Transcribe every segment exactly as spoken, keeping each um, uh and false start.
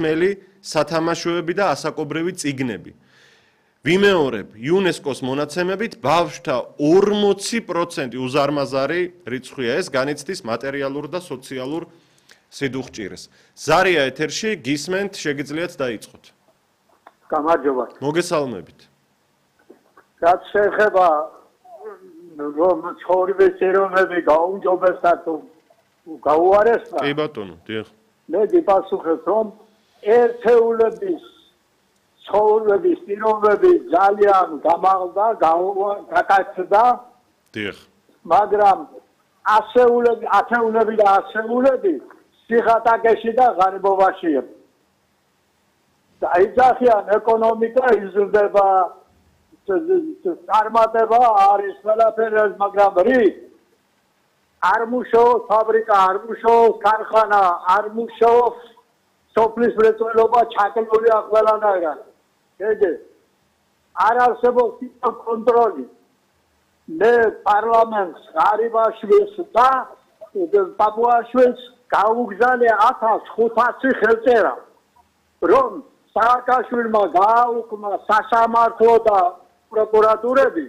მელი სათამაშოები და ასაკობრივი წიგნები. ვიმეორებ იუნესკოს მონაცემებით ბავშვთა ორმოცი პროცენტი უზარმაზარი რიცხვია ეს განიცდის მატერიალურ და სოციალურ სიდუხჭირეს. ზარია ეთერში გისმენთ შეგიძლიათ დაიწყოთ. გამარჯობა. მოგესალმებით. რაც შეეხება რომ ცხოვრების ეროვნები გაუმჯობესდა თუ გაუარესდა. კი ბატონო, დიახ. მე გიპასუხებ რომ ერთეულების ცხოვრების პირობები ძალიან გამაღლდა, გაკაცდა. დიახ. მაგრამ ასეულები, ათეულები და ასეულები სიხატაკეში და ღარიბობაშია. დაიძახიან ეკონომიკა იზრდება, წარმატება არის ყველაფერი, მაგრამ რით არ მუშაობს ფაბრიკა, არ მუშაობს ქარხანა, არ მუშაობს სოფლის მრეწველობა, ჩაკელულია ყველანაირად. ეგე არ არსებობს კონტროლი. მე პარლამენტს ღარიბაშვილს და პაპუაშვილს გაუგზავნე ათას ხუთასი ხელწერა, რომ სააკაშვილმა გააუქმა სასამართლო და პროკურატურები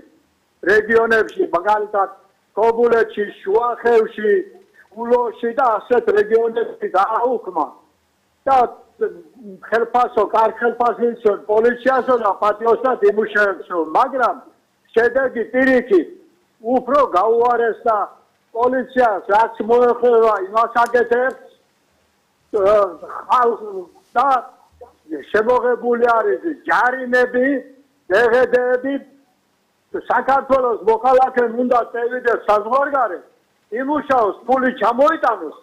რეგიონებში, მაგალითად კობულეთში, შუახევში, ულოში და ასეთ რეგიონებში გააუქმა და ხელფასო, კარ ხელფასილსო, პოლიციასო და პატიოსთან იმუშავებსო, მაგრამ შედეგი პირიქით უფრო გაუარესდა პოლიციას, რაც მოეხება იმას აკეთებს ხალხს და შემოღებული არის ჯარიმები, დღდები. საქართველოს მოქალაქემ უნდა წევიდეს საზღვარგარეთ, იმუშაოს, ფული ჩამოიტანოს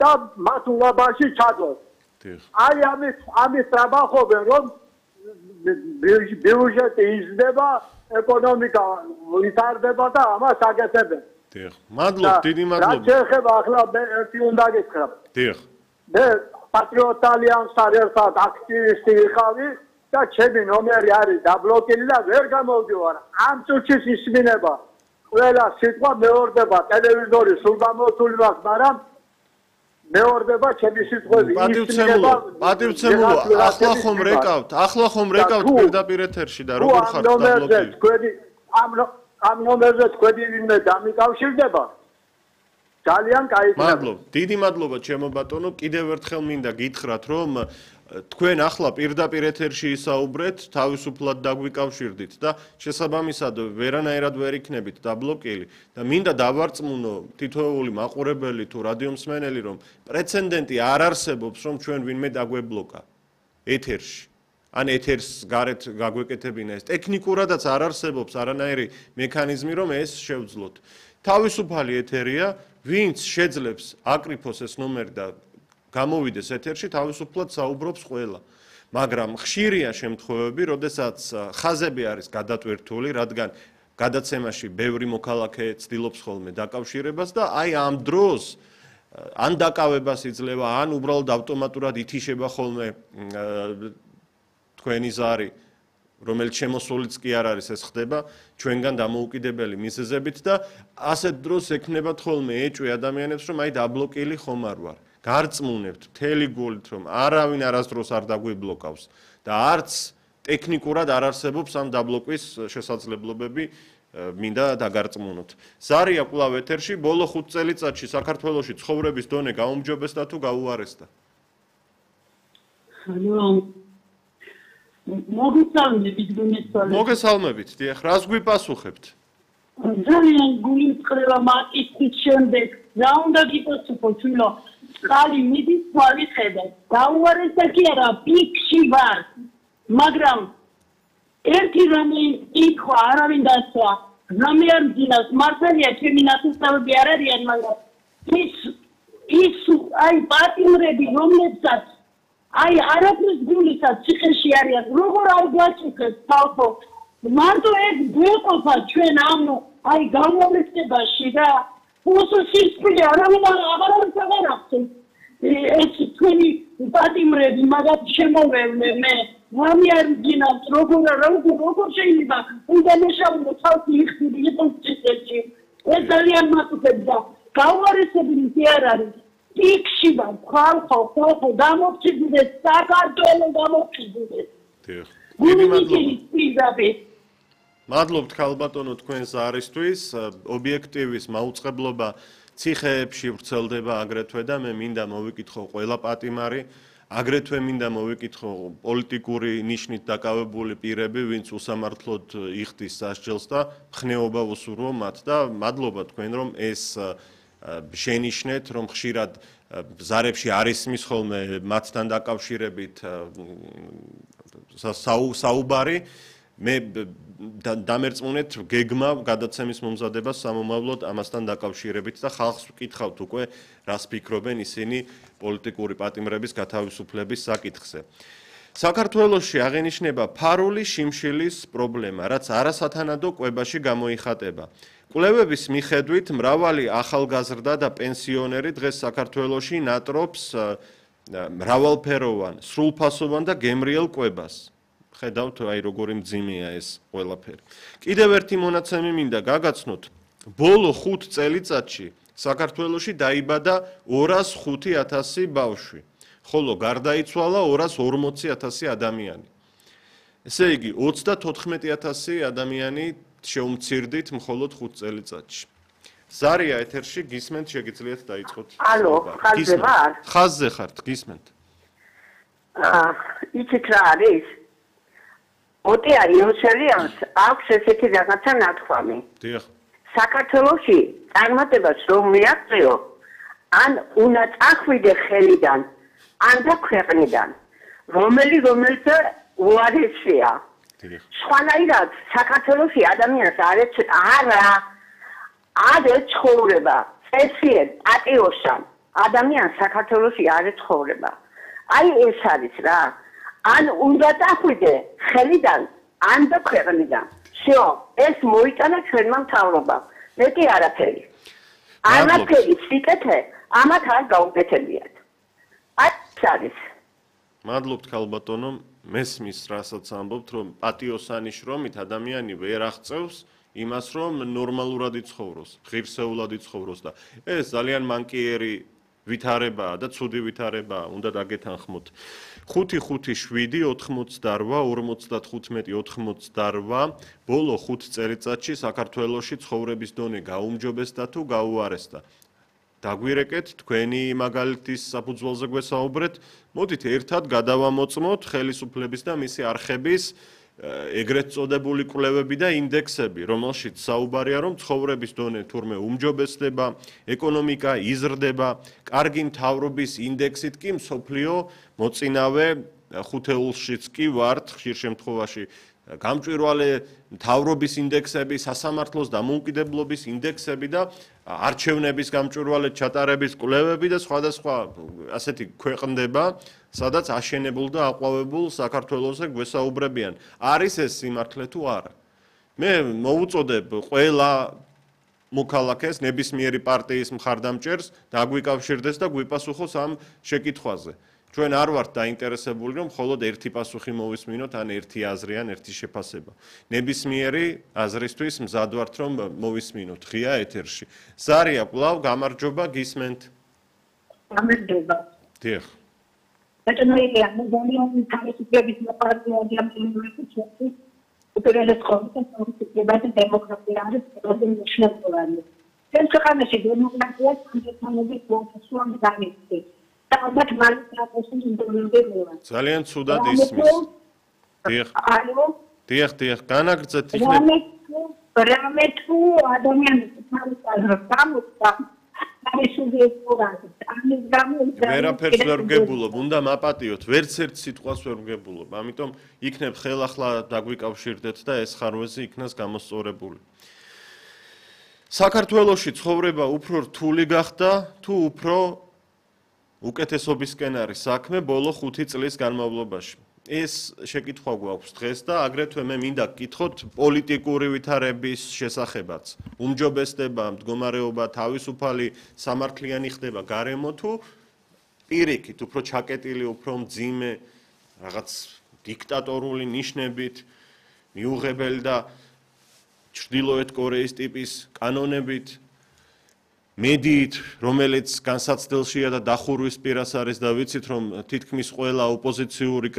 და მათ ულაბაში ჩადოს. აი ამის ამის ტრაბახობენ, რომ ბიუჯეტი იზრდება, ეკონომიკა ვითარდება და ამას აკეთებენ. დიახ. მადლობ, დიდი მადლობა. რაც შეეხება ახლა მე ერთი უნდა გითხრა. დიახ. მე პატრიოტ ალიანსთან ერთად აქტივისტი ვიყავი და ჩემი ნომერი არის დაბლოკილი და ვერ გამოვდივარ. ამ წუთში ისმინება ყველა სიტყვა მეორდება ტელევიზორი სულ გამოთული მაქვს, მაგრამ მეორდება ჩემი სიტყვები. პატივცემულო, პატივცემულო, ახლა ხომ რეკავთ, ახლა ხომ რეკავთ პირდაპირ ეთერში და როგორ ხართ დაბლოკილი? თქვენი ამ ამ ნომერზე თქვენი ვინმე დამიკავშირდება. ძალიან კაი. მადლობა, დიდი მადლობა ჩემო ბატონო. კიდევ ერთხელ მინდა გითხრათ, რომ თქვენ ახლა პირდაპირ ეთერში ისაუბრეთ, თავისუფლად დაგვიკავშირდით და შესაბამისად ვერანაირად ვერ იქნებით დაბლოკილი და მინდა დავარწმუნო თითოეული მაყურებელი თუ რადიომსმენელი, რომ პრეცედენტი არ არსებობს, რომ ჩვენ ვინმე დაგვებლოკა ეთერში. ან ეთერს გარეთ გაგვეკეთებინა ეს. ტექნიკურადაც არ არსებობს არანაირი მექანიზმი, რომ ეს შევძლოთ. თავისუფალი ეთერია, ვინც შეძლებს აკრიფოს ეს ნომერი და გამოვიდეს ეთერში, თავისუფლად საუბრობს ყველა. მაგრამ ხშირია შემთხვევები, როდესაც ხაზები არის გადატვირთული, რადგან გადაცემაში ბევრი მოქალაქე ცდილობს ხოლმე დაკავშირებას და აი ამ დროს ან დაკავებას იძლევა, ან უბრალოდ ავტომატურად ითიშება ხოლმე თქვენი ზარი, რომელიც შემოსულიც კი არ არის, ეს ხდება ჩვენგან დამოუკიდებელი მიზეზებით და ასეთ დროს ექნებათ ხოლმე ეჭვი ადამიანებს, რომ აი დაბლოკილი ხომ არ ვარ. გარწმუნებთ მთელი გულით, რომ არავინ არასდროს არ დაგვიბლოკავს და არც ტექნიკურად არ არსებობს ამ დაბლოკვის შესაძლებლობები, მინდა დაგარწმუნოთ. ზარია კვლავ ეთერში, ბოლო ხუთ წელიწადში საქართველოში ცხოვრების დონე გაუმჯობესდა თუ გაუარესდა? მოგესალმებით, გულისხმობ. მოგესალმებით, დიახ, რას გვიპასუხებთ? ძალიან გულისხმობა მაკითხის შემდეგ, რა უნდა გიპასუხო, თვილო, წყალი მიდის თვალის ხედავ. გაუარესდა კი არა, პიკში ვარ. მაგრამ ერთი რამე იკითხვა, არავინ დასვა. რამე არ მძინავს, მართალია ჩემი ნათესავები არ არიან, მაგრამ ის ის აი პატიმრები, რომლებსაც აი არაფრის გულისად ციხეში არიან, როგორ არ გვაჭიქეს თალხო. მარტო ეს გვეყოფა ჩვენ ამ აი გამომწებაში და უსუსისწრე არავინ აღარ აღარახსენ. ეს თქვენი პატიმრები მაგათ შემოვევლე მე. რამე არ მძინავს, როგორ როგორ როგორ შეიძლება უნდა მეშავო თალხი იხდიდი იყოს ციხეში. ეს ძალიან მათუქებდა. გაუარესებული კი არ არის. პიკში ვარ, ხალხო, ხალხო, გამოფხიზდეს, საქართველო გამოფხიზდეს. დიახ. დიდი მადლობა. მადლობთ ქალბატონო თქვენ ზარისთვის, ობიექტივის მაუწყებლობა ციხეებში ვრცელდება აგრეთვე და მე მინდა მოვიკითხო ყველა პატიმარი, აგრეთვე მინდა მოვიკითხო პოლიტიკური ნიშნით დაკავებული პირები, ვინც უსამართლოდ იხდის სასჯელს და მხნეობა უსურვო მათ და მადლობა თქვენ რომ ეს შენიშნეთ, რომ ხშირად ზარებში არ ისმის ხოლმე მათთან დაკავშირებით საუბარი მე დამერწმუნეთ გეგმა გადაცემის მომზადებას სამომავლოდ ამასთან დაკავშირებით და ხალხს ვკითხავთ უკვე რას ფიქრობენ ისინი პოლიტიკური პატიმრების გათავისუფლების საკითხზე. საქართველოში აღენიშნება ფარული შიმშილის პრობლემა, რაც არასათანადო კვებაში გამოიხატება. კვლევების მიხედვით მრავალი ახალგაზრდა და პენსიონერი დღეს საქართველოში ნატრობს მრავალფეროვან, სრულფასოვან და გემრიელ კვებას. ხედავთ აი როგორი მძიმეა ეს ყველაფერი. კიდევ ერთი მონაცემი მინდა გაგაცნოთ. ბოლო ხუთ წელიწადში საქართველოში დაიბადა ორას ხუთი ათასი ბავშვი, ხოლო გარდაიცვალა ორას ორმოცი ათასი ადამიანი. ესე იგი ოცდათოთხმეტი ათასი ადამიანი შეუმცირდით მხოლოდ ხუთ წელიწადში. ზარია ეთერში გისმენთ, შეგიძლიათ დაიწყოთ. ალო, ხაზზე ვარ? ხაზზე ხართ, გისმენთ. აა, იცით რა არის? ოტია იოსელიანს აქვს ესეთი რაღაცა ნათქვამი. დიახ. საქართველოში წარმატებას რომ მიაღწიო, ან უნდა წახვიდე ხელიდან, ან და ქვეყნიდან, რომელი რომელთა უარესია. დიახ. სხვანაირად საქართველოში ადამიანს არ არა არ ეცხოვრება, წესიერ პატიოსან ადამიანს საქართველოში არ ეცხოვრება. აი ეს არის რა. ან უნდა დახვიდე ხელიდან, ან და ქვეყნიდან. всё, ეს მოიტანა ჩვენმა მთავრობამ. მეტი არაფერი. არაფერი სიკეთე, ამათ არ გაუკეთებიათ. აი ეს არის. მადლობთ ქალბატონო, მესმის რასაც ამბობთ, რომ პატიოსანი შრომით ადამიანი ვერ აღწევს იმას, რომ ნორმალურად იცხოვროს, ღირსეულად იცხოვროს და ეს ძალიან მანკიერი ვითარებაა და ცუდი ვითარებაა, უნდა დაგეთანხმოთ. ხუთი ხუთი შვიდი ოთხმოცდარვა ორმოცდათხუთმეტი ოთხმოცდარვა ბოლო ხუთ წელიწადში საქართველოში ცხოვრების დონე გაუმჯობესდა თუ გაუარესდა. დაგვირეკეთ თქვენი მაგალითის საფუძველზე გვესაუბრეთ, მოდით ერთად გადავამოწმოთ ხელისუფლების და მისი არხების ეგრეთ წოდებული კვლევები და ინდექსები, რომელშიც საუბარია, რომ ცხოვრების დონე თურმე უმჯობესდება, ეკონომიკა იზრდება, კარგი მთავრობის ინდექსით კი მსოფლიო მოწინავე ხუთეულშიც კი ვართ ხშირ შემთხვევაში. გამჭვირვალე მთავრობის ინდექსები, სასამართლოს დამოუკიდებლობის ინდექსები და არჩევნების გამჭვირვალე ჩატარების კვლევები და სხვადასხვა ასეთი ქვეყნდება, სადაც აშენებულ და აყვავებულ საქართველოსზე გვესაუბრებიან. არის ეს სიმართლე თუ არა? მე მოვუწოდებ ყველა მოქალაქეს, ნებისმიერი პარტიის მხარდამჭერს დაგვიკავშირდეს და გვიპასუხოს ამ შეკითხვაზე. ჩვენ არ ვართ დაინტერესებული, რომ მხოლოდ ერთი პასუხი მოვისმინოთ, ან ერთი აზრი, ან ერთი შეფასება. ნებისმიერი აზრისთვის მზად ვართ, რომ მოვისმინოთ ღია ეთერში. ზარია, კვლავ გამარჯობა, გისმენთ. გამარჯობა. დიახ. ბატონოია, მე ძალიან თავისუფლების მოყარებული ადამიანები უპირველეს ყოვლისა თავისუფლება და დემოკრატია არის ყველაზე მნიშვნელოვანი. ჩვენ ქვეყანაში დემოკრატია სამართლიანობის პროცესში გამიქცევს. ძალიან ცუდად ისმის. დიახ. დიახ, დიახ, განაგრძეთ იქნებ. რამე თუ ადამიანები თავისუფლად გამოწვა, ვერაფერს ვერ ვგებულობ, უნდა მაპატიოთ, ვერც ერთ სიტყვას ვერ ვგებულობ. ამიტომ იქნებ ხელახლა დაგვიკავშირდეთ და ეს ხარვეზი იქნას გამოსწორებული. საქართველოში ცხოვრება უფრო რთული გახდა თუ უფრო უკეთესობისკენ არის საქმე ბოლო ხუთი წლის განმავლობაში. ეს შეკითხვა გვაქვს დღეს და აგრეთვე მე მინდა გკითხოთ პოლიტიკური ვითარების შესახებაც. უმჯობესდება მდგომარეობა თავისუფალი სამართლიანი ხდება გარემო თუ პირიქით, უფრო ჩაკეტილი, უფრო მძიმე, რაღაც დიქტატორული ნიშნებით, მიუღებელი და ჩრდილოეთ კორეის ტიპის კანონებით. მედიით, რომელიც განსაცდელშია და დახურვის პირას არის და ვიცით რომ თითქმის ყველა ოპოზიციური